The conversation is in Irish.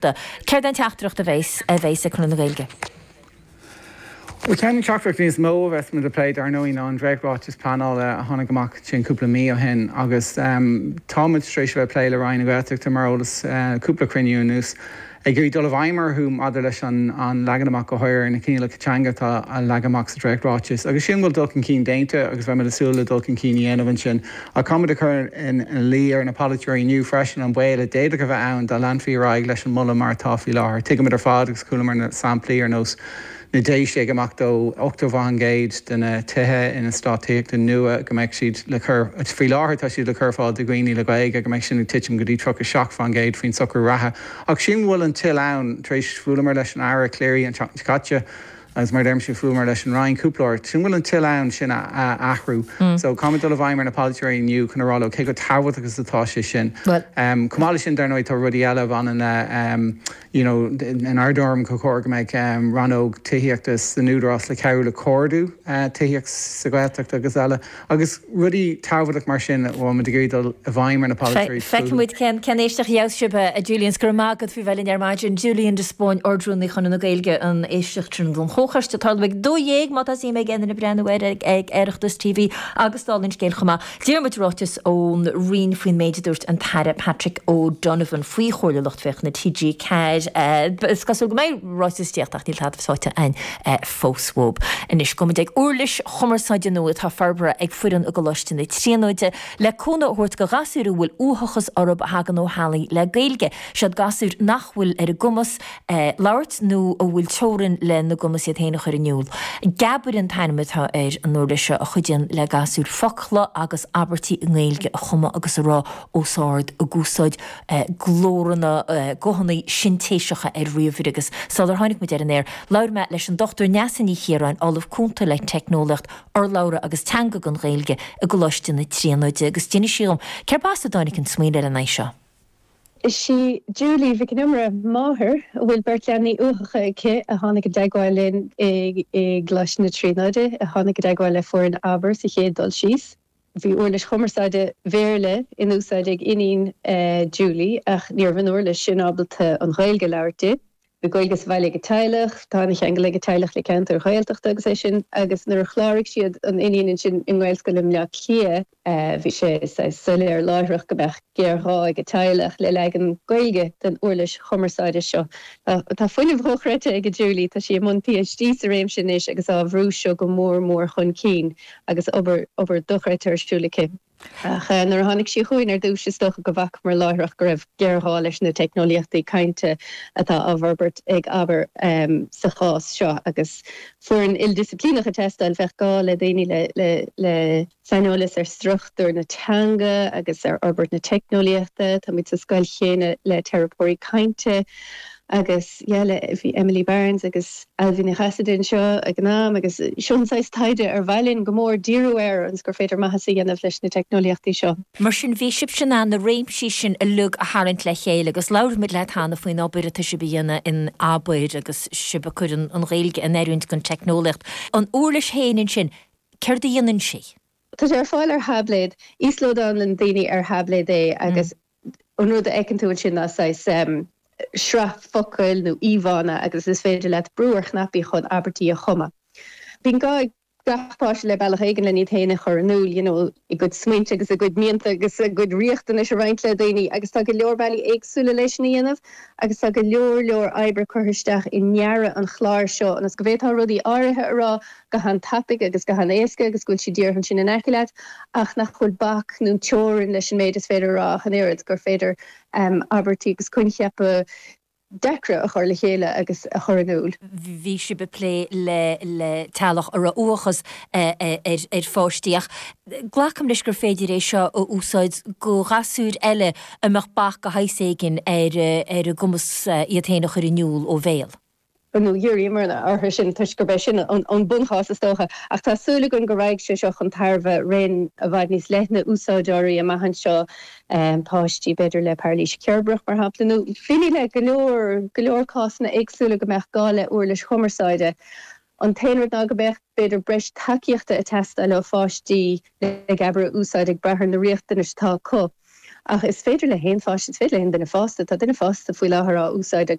Céard é an teachtaireacht a bheas a bheas ag Conradh na Gaeilge? Bhuel, ceann de na teachtaireachtaí is mó a bheas muid ag plé, dar ndóigh, ná an dréacht-ráiteas pleanála a tháinig amach sin cúpla mí ó shin agus tá muid tar éis a bheith ag plé le Roinn na Gaeltachta, mar eolas, cúpla cruinniú anuas, ag iarraidh dul i bhfeidhm orthu maidir leis an leagan amach go háirithe ar na coinníollacha teanga atá leagtha amach sa dréacht-ráiteas. Agus sílim go bhfuil dul chun cinn déanta agus beimid ag súil le dul chun cinn a dhéanamh ansin. Ach táimid ag cur ina luí ar na polaiteoirí inniu freisin an baol a d'fhéadfadh a bheith ann dá leanfaí ar aghaidh leis an moladh mar atá faoi láthair. Tuigimid ar fad agus chualamar na samplaí ar nós na Déise ag imeacht ó 80% de na tithe in eastát tithíochta nua go mbeidh siad le cur, faoi láthair tá siad le cur ar fáil do dhaoine le Gaeilge, go mbeidh sin ag titim go dtí 37% faoin socrú reatha. Ach sílim go bhfuil an toil ann, tar éis bhuaileamar leis an Aire Cleary an tseachtain seo caite, Agus mar a deirimse, bhuaileamar leis an Roinn cúpla uair. Sílim go bhfuil an toil ann sin a athrú. So, caithfimid dul i bhfeidhm ar na polaiteoirí inniu chun a rá leo cé chomh tábhachtach is atá sé sin. Chomh maith leis sin, dar ndóigh, tá rudaí eile a bhaineann le, you know, inár dtuairim, gur chóir go mbeadh rannóg tithíochta san Údarás le cabhrú le comhordú tithíocht sa Ghaeltacht agus eile. Agus rudaí tábhachtach mar sin a bhfuil muid ag iarraidh dul i bhfeidhm ar na polaiteoirí fúthu. Feicfidh muid cén éisteacht a gheobhas sibh, a Julian. Go raibh maith agat faoi bheith linn ar maidin. Julian de Spáinn, Ard-Rúnaí Chonradh na Gaeilge, an éisteacht sin don Chomhchoiste ag tarlú ag 12:00 má tá suim ag aon duine breathnú air ag Oireachtas TV agus dála an scéil chomh maith. D'iarr muid ráiteas ón Roinn faoin méid a dúirt an tAire Patrick O'Donovan faoi Chomhairle Lucht Féachana TG4. Is cosúil go mbeidh ráiteas ag tíocht ach níl tada faighte againn fós uathu. Anois, gabhfaidh muid ag uirlis chumarsáide nua atá forbartha ag foireann i gColáiste na Tríonóide le cúnamh a thabhairt do ghasúir a bhfuil uathachas orthu a thagann ó theaghlaigh le Gaeilge. Siad gasúir nach bhfuil ar a gcumas labhairt nó a bhfuil teorainn lena gcumas iad féin a chur in iúl. Geabair an t-ainm atá ar an uirlis seo a chuidíonn le gasúir focla agus abairtí i nGaeilge a chumadh agus a rá os ard ag úsáid glóranna, guthanna sintéiseacha ar ríomhaire agus sular tháinig muid ar an aer, labhair mé leis an Dr Neasa Ní Chiaráin, Ollamh Cúnta le Teicneolaíocht Urlabhra agus Teanga don Ghaeilge i gColáiste na Tríonóide agus d'inis sí dhom cérb as a dtáinig an smaoineamh lena aghaidh seo. Is í Julie Mhic an Iomaire, máthair a bhfuil beirt leanaí uathacha aici, a tháinig i dteagmháil linn i gColáiste na Tríonóide, a tháinig i dteagmháil le foireann Abair sa chéad dul síos. Bhí uirlis chumarsáide Bhéarla in úsáid ag iníon Julie ach ní raibh an uirlis sin ábalta an Ghaeilge a labhairt di. Bhí Gaeilge sa bhaile ag an teaghlach, tá an-cheangal ag an teaghlach le ceantair Ghaeltachta agus é sin agus nuair a chláraigh siad an iníon ansin i nGaelscoil i mBleá Cliath, bhí sé saghas soiléir láithreach go mbeadh géarghá ag an teaghlach le leagan Gaeilge den uirlis chumarsáide seo. Tá fuinneamh dhochreidte ag Julie, tá sí i mbun PhD sa réimse anois agus á bhrú seo go mór mór chun cinn. agus obair, obair dochreidte ar siúl aici. Ach nuair a tháinig sí chugainn ar dtús, is dócha go bhfacamar láithreach go raibh géarghá leis na teicneolaíochtaí cainte atá á bhforbairt ag Abair sa chás seo agus foireann ildisciplíneach ag teastáil. Bheadh gá le daoine le, le, le saineolas ar struchtúr na teanga agus ar fhorbairt na teicneolaíochta. Táimid sa scoil chéanna le teiripeoirí cainte agus yeah le, bhí Emily Barnes agus Ailbhe Ní Chasaide anseo ag an am agus seo an saghas taighde ar mhaith linn go mór díriú air ionas gur féidir maitheas a dhéanamh leis na teicneolaíochtaí seo. Mar sin, bhí sibhse in ann na réimsí sin uilig a tharraingt le chéile agus labhair muid leat cheana faoin obair atá sibh a dhéanamh in Abair agus sibh ag cur an Ghaeilge in oiriúint don teicneolaíocht. An uirlis féin ansin, céard a dhéanann sí? Tá sé ar fáil ar tháibléad. Íoslódálann daoine ar tháibléad é agus an rud a fheiceann tú ansin ná saghas sraith focail nó íomhánna agus is féidir leat brú ar chnaipí chun abairtí a chumadh. Bíonn gá ag gach páiste le bealach éigin len iad féin a chur in iúl, you know, a gcuid smaointe agus a gcuid mianta agus a gcuid riachtanais a roinnt le daoine agus tá go leor bealaí éagsúla leis sin a dhéanamh agus tá go leor leor oibre curtha isteach i ndearadh an chláir seo ionas go bhféadfá rudaí áirithe a rá go han-tapaidh agus go han-éasca agus go bhfuil siad díreach ansin in aice leat ach nach bhfuil bac nó teorainn leis an méid is féidir a rá ach an oiread, gur féidir abairtí agus coincheapa deacra a chur le chéile agus a chur in iúl. Bhí sibh ag plé le le teaghlach a raibh uathachas ar ar pháistí ach glacaim leis gur féidir é seo a úsáid do ghasúir eile a mbeadh bac de shaghas éigin ar ar a gcumas iad féin a chur in iúl ó bhéal. nó dhíríomar orthu sin toisc gurb é sin an bunchás is dócha, ach tá súil againn go raghaidh sé seo chun tairbhe raon i bhfad níos leithne úsáideoirí amach anseo, páistí b'fhéidir le pairilís cheirbreach mar shampla, nó daoine le go leor, go leor cásanna éagsúla go mbeadh gá le uirlis chumarsáide. An t-aon rud ná go mbeadh b'fhéidir breis tacaíochta ag teastáil ó pháistí le Geabair a úsáid ag brath ar na riachtanais atá acu. Ach is féidir le haon pháiste, is féidir le haon duine fásta, tá duine fásta faoi láthair á úsáid.